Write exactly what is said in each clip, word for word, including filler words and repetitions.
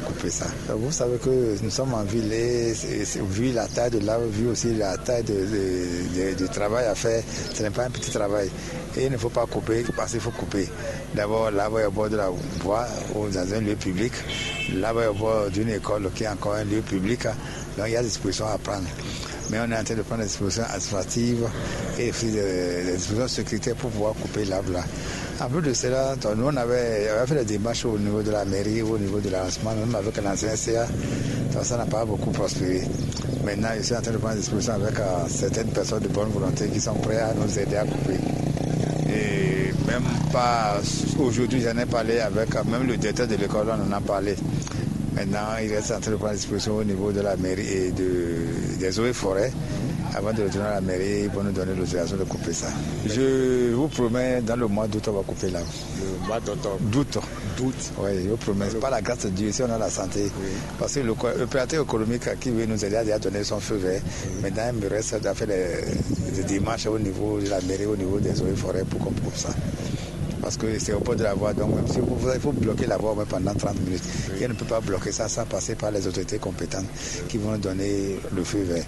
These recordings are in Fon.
Couper ça. Vous savez que nous sommes en ville et c'est- c'est- vu la taille de l'arbre, vu aussi la taille de, de- de- du travail à faire, ce n'est pas un petit travail. Et il ne faut pas couper parce qu'il faut couper. D'abord, l'arbre est au bord de la voie ou dans un lieu public. L'arbre est au bord d'une école qui est encore un lieu public. Donc il y a des dispositions à prendre. Mais on est en train de prendre des dispositions administratives et aussi des, des dispositions sécuritaires pour pouvoir couper l'arbre là. En plus de cela, donc, nous on avait, on avait fait des démarches au niveau de la mairie, au niveau de l'arrondissement, même avec l'ancien C A. Donc, ça n'a pas beaucoup prospéré. Maintenant, je suis en train de prendre des dispositions avec euh, certaines personnes de bonne volonté qui sont prêtes à nous aider à couper. Et même pas aujourd'hui, j'en ai parlé avec euh, même le directeur de l'école, on en a parlé. Maintenant, il reste en train de prendre des dispositions au niveau de la mairie et de, des eaux et forêts. Avant de retourner à la mairie, ils vont nous donner l'autorisation de couper ça. Je vous promets, dans le mois d'août, on va couper là. Le mois d'octobre. D'août. D'août. Oui, je vous promets. Par la grâce de Dieu, si on a la santé. Oui. Parce que le co- l'opérateur économique qui veut nous aider a déjà donné son feu vert. Oui. Maintenant, il me reste à faire des, des démarches au niveau de la mairie, au niveau des eaux et forêts pour qu'on coupe ça. Parce que c'est au bord de la voie, donc même si vous, il faut bloquer la voie au moins pendant trente minutes. Oui. Et on ne peut pas bloquer ça sans passer par les autorités compétentes qui vont donner le feu vert.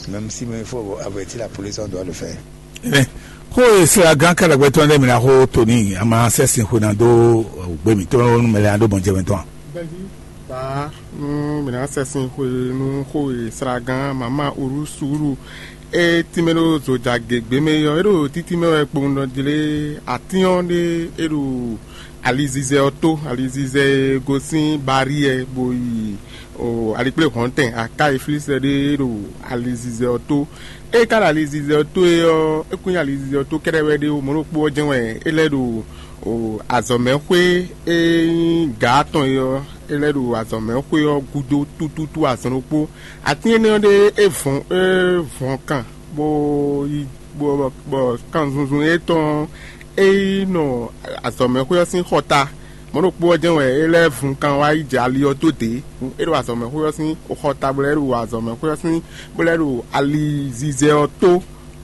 Même si même il faut avertir la police, on doit le faire. Ɛnɛ, xó e sɛ́gán kɛ́ɖɛgbɛ́ tɔn lɛ́ɛ mi ná xó Toni, a ma sɛ́ sin xwe ná dó gbé mǐtɔn nú mɛ lɛ́ɛ ná ɖó gbɔn jɛ mɛ tɔn a? Baa nú mǐ ná sɛ́ sin xwe nú xó e sɛ́gán mama Urúsuúlu e tínmɛ ɖó zojagěgbé mɛ é ɔ́, é ɖo títí mɛ wɛ kpowun ɖɔ jlé atín ɔ́ ɖé é ɖo alizizɛ ɔ́ tó, alizizɛ e gosín Baríɛ bo yi o alikpléhɔ̌ntɛn Aká e flí sɛ ɖé ɖo alizizɛ ɔ́ tó. Ée ka ɖo alizizɛ ɔ́ tó é ɔ́, é kún nyí alizizɛ ɔ́ tó kɛ́ɖɛ́ wɛ ɖé ó, mɔ̌ ɖokpó ɔ́ jɛ́n wɛ é lɛ́ ɖo o azɔ̌mɛxwé e nyí gǎ tɔn é ɔ́, é lɛ́ ɖo azɔ̌mɛxwé ɔ́ gúdo tútútú azɔn ɖokpó. Atín énɛ́ ɔ́ ɖé é vɔn é vɔn kan bó yi bɔ bɔ kanzunzun étɔn é yi nɔ azɔ̌mɛxwé ɔ́ sín xɔta. Mɔ̌ ɖokpó ɔ́ jɛ́n wɛ é lɛ́ vun kan wá yi jɛ ali ɔ́ dó dě. É ɖo azɔ̌mɛxwé ɔ́ sín xɔta bó lɛ́ ɖo azɔ̌mɛxwé ɔ́ sín bó lɛ́ ɖo alizizɛ ɔ́ tó.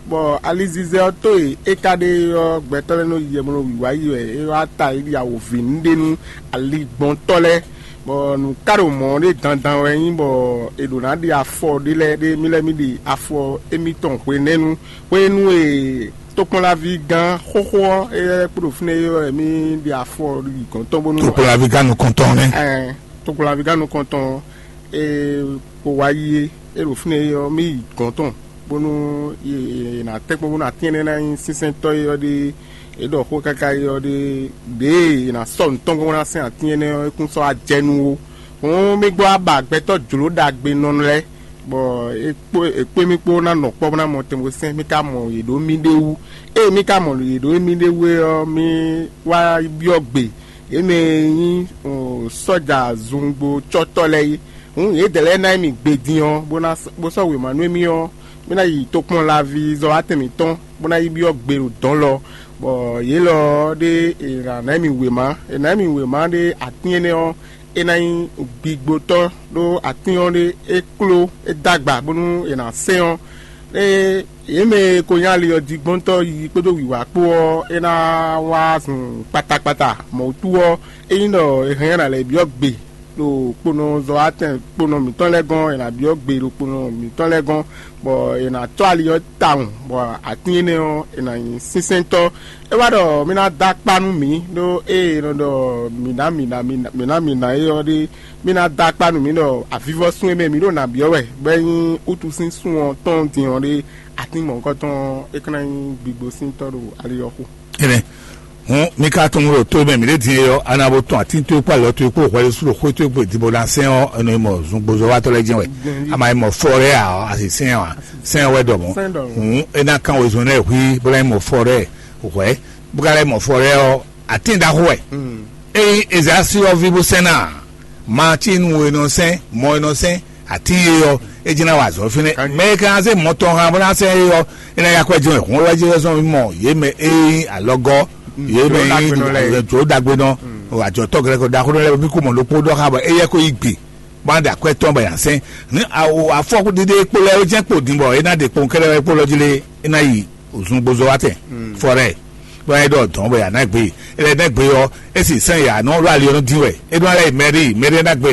Bɔ alizizɛ ɔ́ tó e é ka ɖe ɔ́, gbɛtɔ́ lɛ́ɛ nɔ yi yɛ bó nɔ wǐwá yi wɛ é wá ta yi ɖi awǒvi nú ɖe nú aligbɔntɔ́ lɛ́ɛ. Bɔ nǔ ka ɖo mɔ̌ ɖé dandan wɛ nyí bɔ è ɖǒ ná ɖe afɔ ɖé lɛ́ɛ ɖé mí lɛ́ɛ mí ɖe afɔ émítɔn hwenɛ́nu hwenu e tokpɔnlaví gán xóxó ɔ́, éyɛ́ kpó ɖo fínɛ́ é wɛ mí ɖe afɔ yi gɔ̌n tɔn bónú tokpɔnlaví gán nukɔntɔn nɛ́. Ɛn, tokpɔnlaví gán nukɔntɔn e kpo wá yi é, é ɖo fínɛ́ é ɔ́, mí yi gɔ̌n tɔn bónú è nǎ tɛ́ kpɔ́n bónú atín énɛ́ ná nyí sínsɛ́ntɔ́ é ɔ́ ɖe. È ɖɔ xó káká é ɔ́ ɖe, ɖěe è nǎ sɔ́ nǔ tɔn gbɔn ná sɛn atín énɛ́ ɔ́, é kún sɔ́ wá jɛ nú ó. Hǔn mí gbɔ wá ba gbɛtɔ́ jlǒ ɖagbe nɔ lɛ́ɛ, bɔ é kpó é kpé mì kpó ná nɔ kpɔ́ bó ná mɔ tɛnbɔsɛn, mì ka mɔ yě ɖó mì ɖé wú. Ée mì ka mɔ yě ɖó mì ɖé wú é ɔ́, mì wá byɔ́ gbe yě mɛ e nyí sɔ́ja zungbo cɔ́tɔ́ lɛ́ɛ é. Hǔn yědɛɛ lɛ́ɛ ná nyí mì gbe din ɔ́, bó ná bó sɔ́ wěma nú émí ɔ́, mì ná yi tokpɔn laví zɔ́watɛn mǐtɔn, bó ná yi byɔ́ gbe ɖo dɔ̌n lɔ, bɔ yě lɔ ɔ́ ɖé è nǎ ná nyí mì wěma. È nǎ nyí mì wěma ɖé atín énɛ́ ɔ́, é ná nyí gbigbotɔ́, ɖó atín ɔ́ ɖé é kló é dó agba bónú è nǎ sɛn ɔ́. Ée yě mɛ e ko nyí ali ɔ́ jí gbɔ́ntɔ́ yiyi kpódó wǐwá kpó ɔ́, é ná wá zun kpatakpata. Mɔ̌ wútu ɔ́, ényí ɖɔ è hɛn ɔ́, è nǎ lɛ́ byɔ́ gbe ɖo kponɔzɔ́watɛn kponɔ mǐtɔn lɛ́ɛ gɔ́n, è nǎ byɔ́ gbe ɖo kponɔ mǐtɔn lɛ́ɛ gɔ́n, bɔ è nǎ tɔ́ ali ɔ́ tawun, bɔ atín énɛ́ ɔ́, è nǎ nyí sínsɛ́ntɔ́. É wá ɖɔ mì ná dó akpá nú mǐ, ɖó ée è nɔ ɖɔ mǐ ná mǐ ná mǐ ná mǐ ná é ɔ́ ɖé, mì ná dó akpá nú mǐ ɖɔ avivɔ́sún e mɛ mǐ ɖo nǎ byɔ́ wɛ, bɔ é nyí wútu sín sun ɔ́ tɔn din ɔ́ ɖé, atín mɔ̌hunkɔtɔn ɔ́, é ka ná nyí gbigbo sín tɔ́ ɖo ali ɔ́ xo. Énɛ́ hǔn, mi ka tunwun ɖo to e mɛ mǐ ɖe din é ɔ́, a nǎ bo tɔn atín towe kpó alɔ towe kpó hwɛɖésú ɖo xwé towe kpó e din bó ná sɛn ɔ́, è nɔ yi mɔ zungbozɔ́watɔ́ lɛ́ɛ jɛ́n wɛ. A ma yi mɔ fɔ lɛ́ɛ ǎ ɔ́, a si sɛn ɔ́ ǎ. Sɛn ɔ́ wɛ ɖɔ mɔ̌. Hǔn é ná kán wezun lɛ́ɛ hwí bó ná yi mɔ fɔ lɛ́ɛ hwɛ̌, bó ka lɛ́ mɔ fɔ lɛ́ɛ ɔ́, atín ɖaxó wɛ. Ényí Ezayasi ɔ́ ví bó sɛn ná ǎ, ma cí nú e nɔ sɛn, mɔ e nɔ sɛn, atín e ɔ́, é jí ná wa azɔ̌ fínɛ́. Mɛ e ka ná zé mɔ tɔn hán bó ná sɛn é ɔ́, é ná yi akwɛ́ jɛ́n wɛ. Hǔn wɛ jɛ́n zɔ́n mì mɔ yě mɛ e nyí alɔgɔ́, yě mɛ e nyí jǒ ɖagbenɔ, ajɔ̌tɔ́ glɛ́kɔ ɖaxó lɛ́ɛ, mì kú mɔ ɖokpó ɖɔ xá bɔ éyɛ́ ko yí gbe bó ná ɖe akwɛ́ tɔn bɔ è nǎ sɛn. Ní afɔkúɖiɖe kpo lɛ́ɛ é jɛ́n kpo din bɔ é ná ɖe kpowun kɛ́ɖɛ́ wɛ kpo lɔ jí lé, é ná yi zungbozɔ́watɛn fɔ́rɛ́, bɔ é ɖɔ dɔ̌n bɔ è nǎ gbe. É lɛ́ ná gbe ɔ́, é sì sɛ́n yǎ nɔ ɖo ali ɔ́ nɔ dín wɛ. É ɖó ná lɛ́ yi mɛɖíi, mɛɖíi ná gbe.